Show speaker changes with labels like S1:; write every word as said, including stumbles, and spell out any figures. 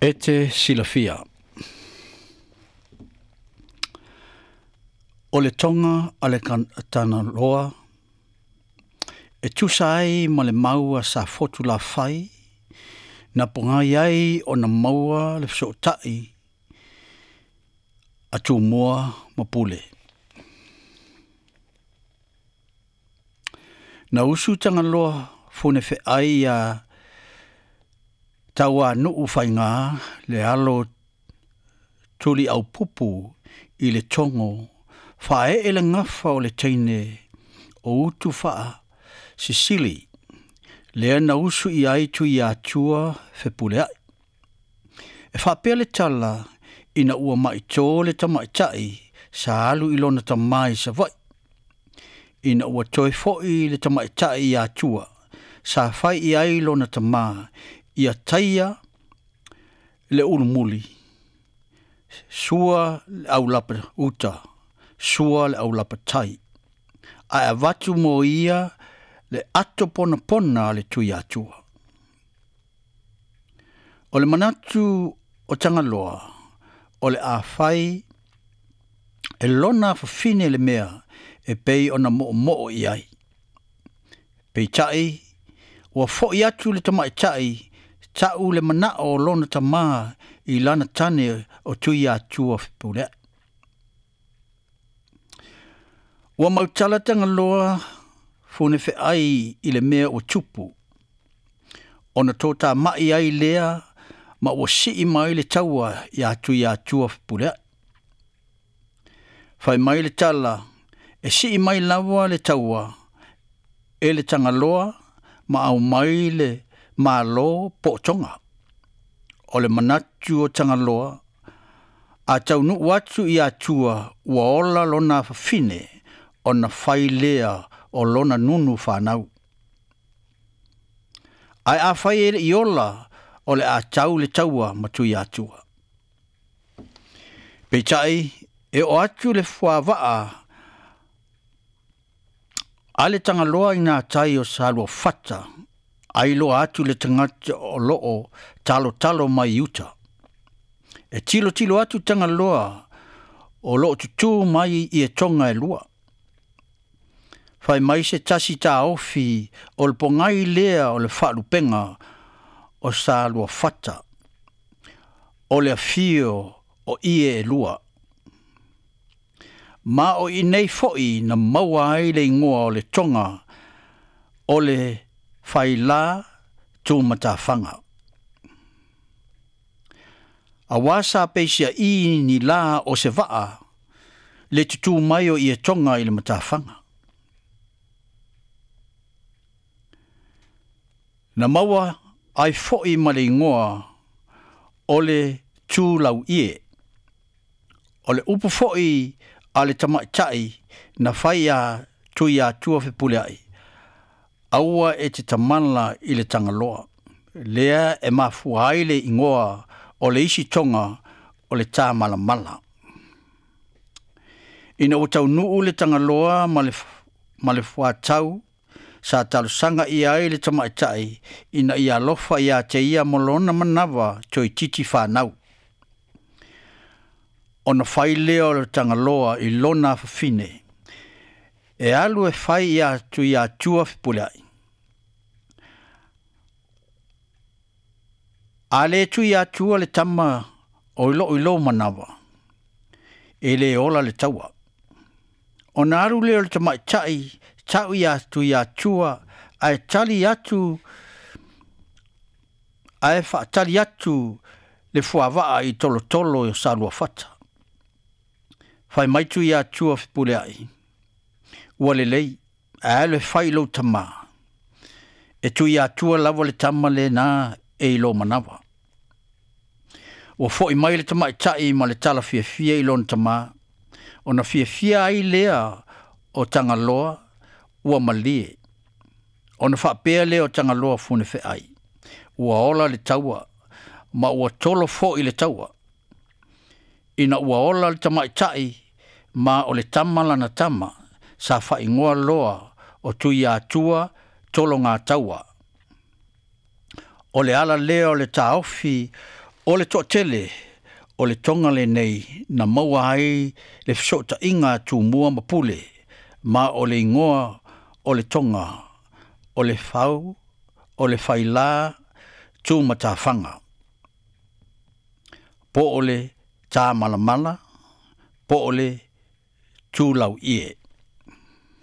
S1: E te silafia, o le toga a le Tagaloa e tusa ai ma le mau a Safotulafai na pogai ai ona maua le fesootai a Tumua ma Pule. Na usu Tagaloa funefeai iā Tauanuu Faigā le alo Tuliaupupu i le togo faaee le gafa o le teine o Utufaasisili lea na usu i ai Tuiatua Fepuleai. E faapea le tala ina ua maito le tamaitai sa alu i lona tamā i Savaii. Ina ua toe fo'i le tamaitai i Atua sa fai i ai lona tamā ia taia le ulumuli, sua le aulapa uta, sua le aulapa tai, ae avatu mo ia le ato ponapona a le Tuiatua. O le manatu o Tagaloa, o le a fai e lona afafine le mea e pei ona moomoo i ai. Peitai, ua fo'i atu le tamaitai ta'u le manao o lona tamā i lana tane o Tuiatua Fepuleai. Ua mautala Tagaloa funefeai i le mea ua tupu, ona totāma'i ai lea ma ua sii mai le taua iā Tuiatua Fepuleai. Fai mai le tala, e sii mai lava le taua e le Tagaloa ma aumai le malo po o toga. O le manatu o Tagaloa, a taunuu atu i Atua ua ola lona afafine ona fai lea o lona nunu fanau. Ae afai e le'i ola, o le a tau le taua ma Tuiatua. Peitai, e oo atu le fuavaa a le Tagaloa i gatai o Saluafata, ailoa atu le tagata o loo talotalo mai uta. E tilotilo atu Tagaloa o loo tutū mai i etoga e lua. Fai mai se tasi taofi o le pogai lea o le faalupega o Saluafata, o le afio o ie e lua. Ma o i nei fo'i na maua ai le igoa o le toga o le Failā Tumatafaga. Auā sa peisiaʻī ni lā o se vaa le tutū mai o ietoga i le matafaga. Na maua ai fo'i ma le igoa o le Tulauie. O le upu fo'i a le tamaitai na fai iā Tuiatua Fepuleai, aua e te tamala i le Tagaloa. Lea e mafua ai le igoa o le isi toga o le Tāmalamala. Ina ua taunuu le Tagaloa ma le, ma le fuatau, sa talosaga i ai le tamaitai ina ia alofa iā te ia mo lona manava toeitiiti fanau. Ona fai lea o le Tagaloa i lona afafine, e alu e fai iā Tuiatua Fepuleai. A le Tuiatua le tama o i loo i lou manava, e lē ola le taua. Ona alu lea o le tamaitai ta'u iā Tuiatua ae tali atu ae faatali atu le fuavaa i tolotolo o Saluafata. Fai mai Tuiatua Fepuleai, ua lelei, ae alu e fai i lou tamā. E Tuiatua lava le tama lenā e i lou manava. Ua fo'i mai le tamaitai ma le tala fiafia i lona tamā, ona fiafia ai lea o Tagaloa ua malie. Ona faapea lea o Tagaloa funefeai, ua ola le taua, ma ua tolo fo'i le taua. Ina ua ola le tamaitai ma o le tama lana tama, sa faaigoa loa o Tuiatua Tologataua. O le ala lea o le taofi O le toatele o le toga lenei na maua ai le fesootaiga a Tumua ma Pule, ma o le igoa o le toga o le fau o le failā Tumatafaga, po o le tāmalamala, po o le tulauie.